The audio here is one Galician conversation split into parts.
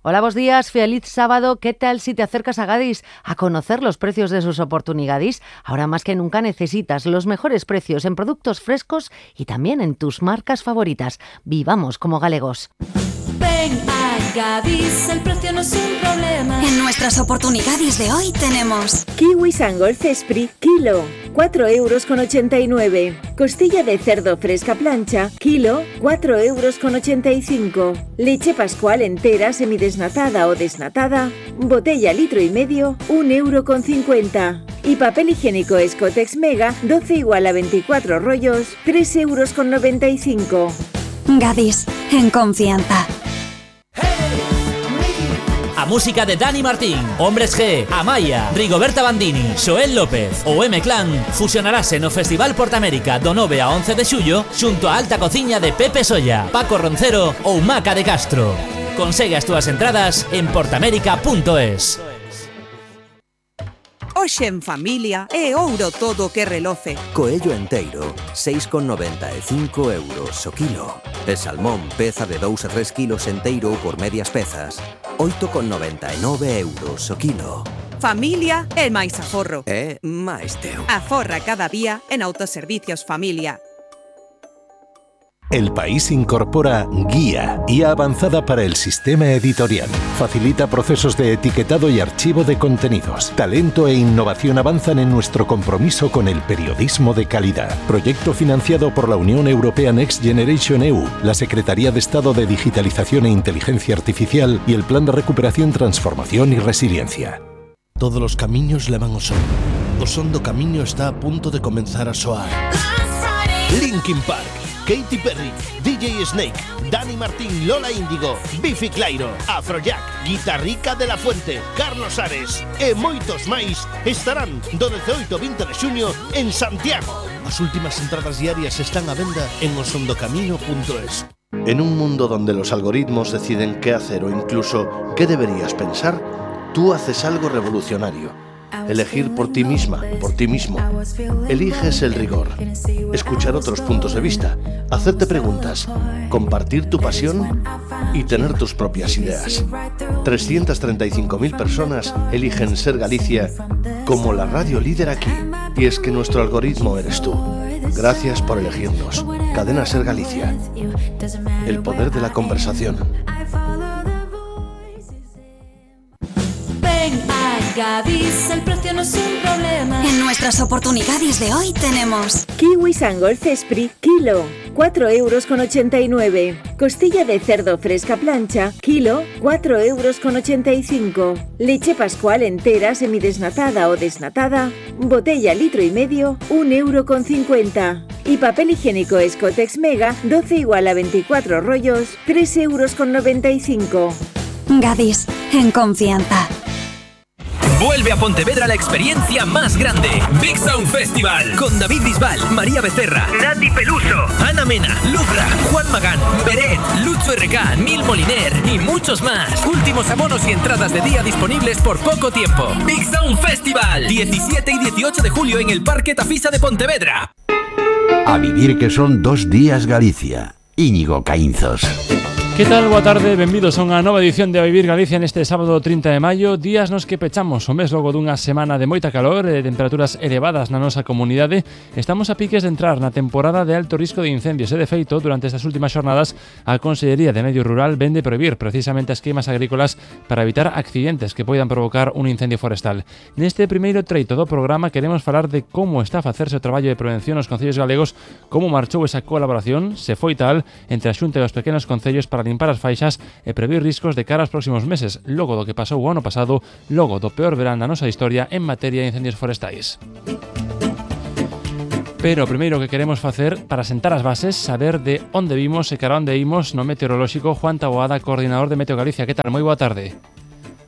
Hola, buenos días, feliz sábado. ¿Qué tal si te acercas a Gadis a conocer los precios de sus oportunidades? Ahora más que nunca necesitas los mejores precios en productos frescos y también en tus marcas favoritas. Vivamos como galegos. Ven a Gadis, el precio no es un problema. En nuestras oportunidades de hoy tenemos kiwi Sangol Cespri, kilo, 4,89 €. Costilla de cerdo fresca plancha, kilo, 4,85 €. Leche Pascual entera, semidesnatada o desnatada, botella 1,5 litros, 1,50 €. Y papel higiénico Escotex Mega, 12 igual a 24 rollos, 3,95 €. Gadis, en confianza. A música de Dani Martín, Hombres G, Amaya, Rigoberta Bandini, Xoel López ou M-Clan fusionarase no Festival Portamérica do 9 a 11 de xullo xunto a alta cociña de Pepe Solla, Paco Roncero ou Maca de Castro. Consegue as túas entradas en portamérica.es. Hoxe en familia é ouro todo o que reloce. Coello enteiro, 6,95 € o kilo. E salmón, peza de 2 a 3 kilos enteiro por medias pezas, 8,99 € o kilo. Familia é máis aforro. É máis teu. Aforra cada día en Autoservicios Familia. El País incorpora Guía avanzada para el sistema editorial. Facilita procesos de etiquetado y archivo de contenidos. Talento e innovación avanzan en nuestro compromiso con el periodismo de calidad. Proyecto financiado por la Unión Europea Next Generation EU, la Secretaría de Estado de Digitalización e Inteligencia Artificial y el Plan de Recuperación, Transformación y Resiliencia. Todos los camiños levan ao son. O son do camiño está a punto de comenzar a soar. Linkin Park, Katy Perry, DJ Snake, Dani Martín, Lola Índigo, Bifi Clyro, Afrojack, Guitarrica de la Fuente, Carlos Ares e moitos máis estarán do 18 ao 20 de xuño en Santiago. As últimas entradas diarias están á venda en osondocamino.es. En un mundo donde los algoritmos deciden qué hacer o incluso qué deberías pensar, tú haces algo revolucionario. Elegir por ti misma, por ti mismo. Eliges el rigor, escuchar otros puntos de vista, hacerte preguntas, compartir tu pasión y tener tus propias ideas. 335.000 personas eligen Ser Galicia como la radio líder aquí. Y es que nuestro algoritmo eres tú. Gracias por elegirnos. Cadena Ser Galicia. El poder de la conversación. Gadis, el precio no es un problema. En nuestras oportunidades de hoy tenemos kiwi Sangol Cespri, kilo, 4,89 €. Costilla de cerdo fresca plancha, kilo, 4,85 €. Leche Pascual entera, semidesnatada o desnatada, botella 1,5 litros, 1,50 €. Y papel higiénico Escotex Mega, 12 igual a 24 rollos, 3,95 €. Gadis, en confianza. Vuelve a Pontevedra la experiencia más grande. Big Sound Festival. Con David Bisbal, María Becerra, Nati Peluso, Ana Mena, Lubra, Juan Magán, Beret, Lucho RK, Nil Moliner y muchos más. Últimos abonos y entradas de día disponibles por poco tiempo. Big Sound Festival. 17 y 18 de julio en el Parque Tafisa de Pontevedra. A vivir que son 2 días Galicia. Íñigo Caínzos. Que tal? Boa tarde, benvidos a unha nova edición de A Vivir Galicia neste sábado 30 de maio. Días nos que pechamos o mes logo dunha semana de moita calor e temperaturas elevadas na nosa comunidade. Estamos a piques de entrar na temporada de alto risco de incendios e, de feito, durante estas últimas xornadas a Consellería de Medio Rural vende prohibir precisamente as queimas agrícolas para evitar accidentes que poidan provocar un incendio forestal. Neste primeiro treito do programa queremos falar de como está a facerse o traballo de prevención nos concellos galegos, como marchou esa colaboración, se foi tal, entre a Xunta e os pequenos concellos para limpar as faixas e prever riscos de cara aos próximos meses, logo do que pasou o ano pasado, logo do peor verán da nosa historia en materia de incendios forestais. Pero o primeiro que queremos facer para sentar as bases, saber de onde vimos e cara onde imos no meteorolóxico. Juan Taboada, coordinador de Meteo Galicia. Que tal? Moi boa tarde.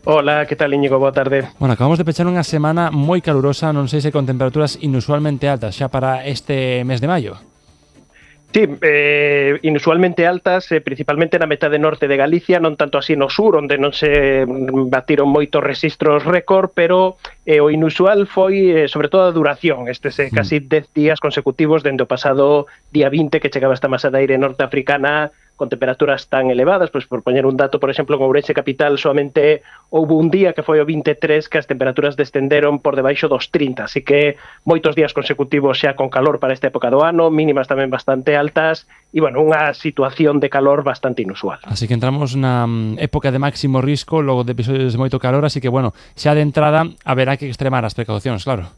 Hola, que tal, Íñigo? Boa tarde. Bueno, acabamos de pechar unha semana moi calurosa, non sei se con temperaturas inusualmente altas xa para este mes de maio. Sí, inusualmente altas, principalmente na metade norte de Galicia, non tanto así no sur, onde non se batiron moitos rexistros récord, pero o inusual foi, sobre todo, a duración. Casi 10 días consecutivos dende o pasado día 20, que chegaba esta masa de aire norteafricana con temperaturas tan elevadas. Pois por poñer un dato, por exemplo, en Ourense capital solamente houve un día que foi o 23 que as temperaturas descenderon por debaixo dos 30, así que moitos días consecutivos xa con calor para esta época do ano, mínimas tamén bastante altas e, bueno, unha situación de calor bastante inusual. Así que entramos na época de máximo risco, logo de episodios de moito calor, así que, bueno, xa de entrada haberá que extremar as precaucións, claro.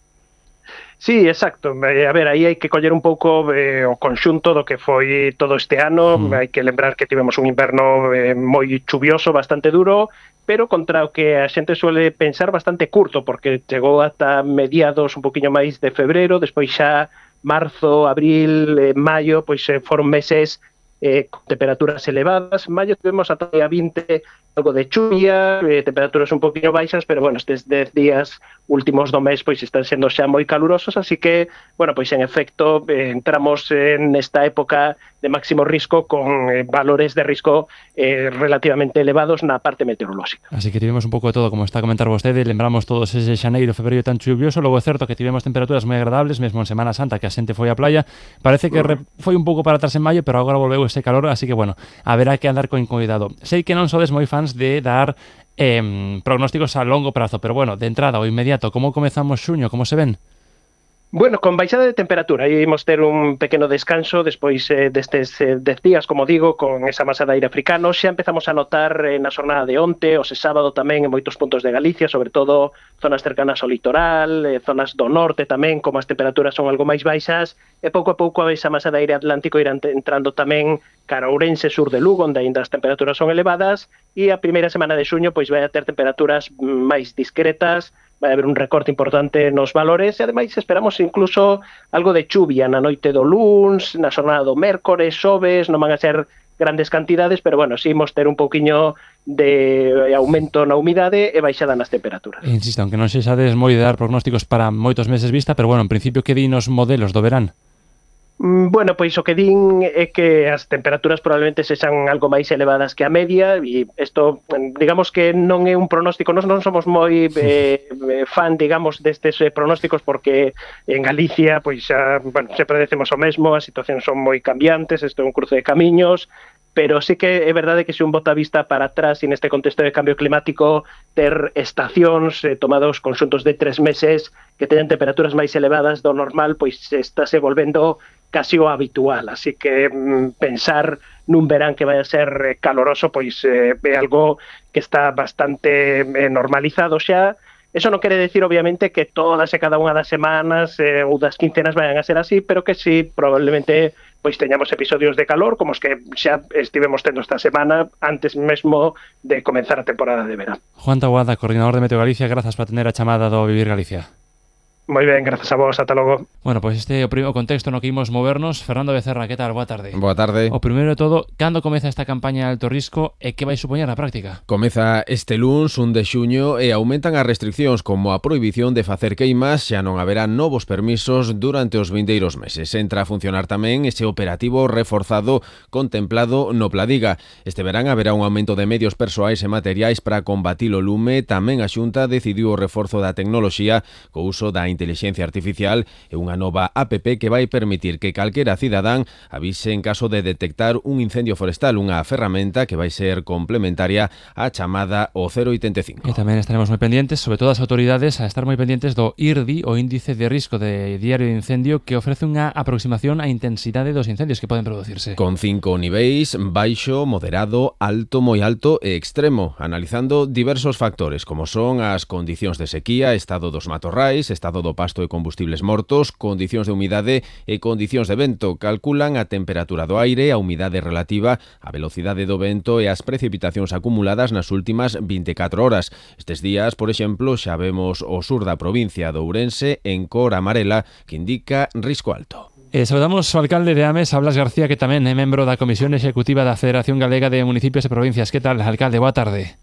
Sí, exacto. A ver, aí hai que coller un pouco o conxunto do que foi todo este ano. Hai que lembrar que tivemos un inverno moi chuvioso, bastante duro, pero contra o que a xente suele pensar bastante curto, porque chegou ata mediados un poquinho máis de febreiro, despois xa marzo, abril, maio, pois foron meses con temperaturas elevadas. En maio tivemos ata a 20 algo de chuvia, temperaturas un poquinho baixas, pero bueno, estes 10 días últimos do mes pois están sendo xa moi calurosos, así que, bueno, pois en efecto entramos en esta época de máximo risco con valores de risco relativamente elevados na parte meteorolóxica. Así que tivemos un pouco de todo, como está a comentar vostede, lembramos todos ese xaneiro, febreiro tan chuvioso, logo é certo que tivemos temperaturas moi agradables, mesmo en Semana Santa, que a xente foi á playa, parece que foi un pouco para atrás en maio, pero agora volveu ese calor, así que, bueno, haberá que andar con cuidado. Sei que non sodes moi fans de dar prognósticos a longo prazo, pero bueno, de entrada o inmediato, como comezamos xuño, como se ven? Bueno, con baixada de temperatura, ímos ter un pequeno descanso despois destes 10 días, como digo, con esa masa de aire africano. Xa empezamos a notar na xornada de onte, o sábado tamén en moitos puntos de Galicia, sobre todo zonas cercanas ao litoral, zonas do norte tamén, como as temperaturas son algo máis baixas, e pouco a pouco esa masa de aire atlántico irá entrando tamén cara a Ourense, sur de Lugo, onde aínda as temperaturas son elevadas, e a primeira semana de xuño pois vai a ter temperaturas máis discretas, vai haber un recorte importante nos valores, e ademais esperamos incluso algo de chuvia na noite do luns, na xornada do mércores, xoves, non van a ser grandes cantidades, pero bueno, si imos ter un pouquiño de aumento na humidade e baixada nas temperaturas. Insisto, aunque non sexades moi de dar prognósticos para moitos meses vista, pero bueno, en principio que din os modelos do verán? Bueno, pois o que din é que as temperaturas probablemente sexan algo máis elevadas que a media, e isto, digamos que non é un pronóstico, non somos moi fan, digamos, destes pronósticos, porque en Galicia, pois xa, bueno, sempre decimos o mesmo, as situacións son moi cambiantes, isto é un cruce de camiños, pero sí que é verdade que se un bota a vista para atrás e neste contexto de cambio climático ter estacións tomados conxuntos de 3 meses que teñan temperaturas máis elevadas do normal, pois estáse volvendo casi o habitual, así que pensar nun verán que vai a ser caloroso pois é algo que está bastante normalizado xa. Eso non quere decir, obviamente, que todas e cada unha das semanas ou das quincenas vayan a ser así, pero que sí, probablemente, pois teñamos episodios de calor, como os que xa estivemos tendo esta semana, antes mesmo de comenzar a temporada de verán. Juan Taboada, coordinador de Meteo Galicia, grazas por atender a chamada do Vivir Galicia. Moi ben, grazas a vos, ata logo. Bueno, pois este é o primeiro contexto no que imos movernos. Fernando Becerra, que tal? Boa tarde. Boa tarde. O primeiro de todo, cando comeza esta campaña de alto risco e que vai supoñer na práctica? Comeza este luns, 1 de xuño, e aumentan as restriccións como a prohibición de facer queimas, xa non haberá novos permisos durante os vindeiros meses. Entra a funcionar tamén ese operativo reforzado contemplado no Pladiga. Este verán haberá un aumento de medios persoais e materiais para combatir o lume. Tamén a Xunta decidiu o reforzo da tecnoloxía co uso da inteligencia artificial e unha nova app que vai permitir que calquera cidadán avise en caso de detectar un incendio forestal, unha ferramenta que vai ser complementaria á chamada o 085. E tamén estaremos moi pendientes, sobre todo as autoridades, a estar moi pendientes do IRDI, o índice de risco de diario de incendio, que ofrece unha aproximación á intensidade dos incendios que poden producirse. Con 5 niveis, baixo, moderado, alto, moi alto e extremo, analizando diversos factores, como son as condicións de sequía, estado dos matorrais, estado do pasto e combustibles mortos, condicións de humidade e condicións de vento. Calculan a temperatura do aire, a humidade relativa, a velocidade do vento e as precipitacións acumuladas nas últimas 24 horas. Estes días, por exemplo, xa vemos o sur da provincia de Ourense en cor amarela, que indica risco alto. Saludamos ao alcalde de Ames, Blas García, que tamén é membro da Comisión Executiva da Federación Galega de Municipios e Provincias. Que tal, alcalde? Boa tarde.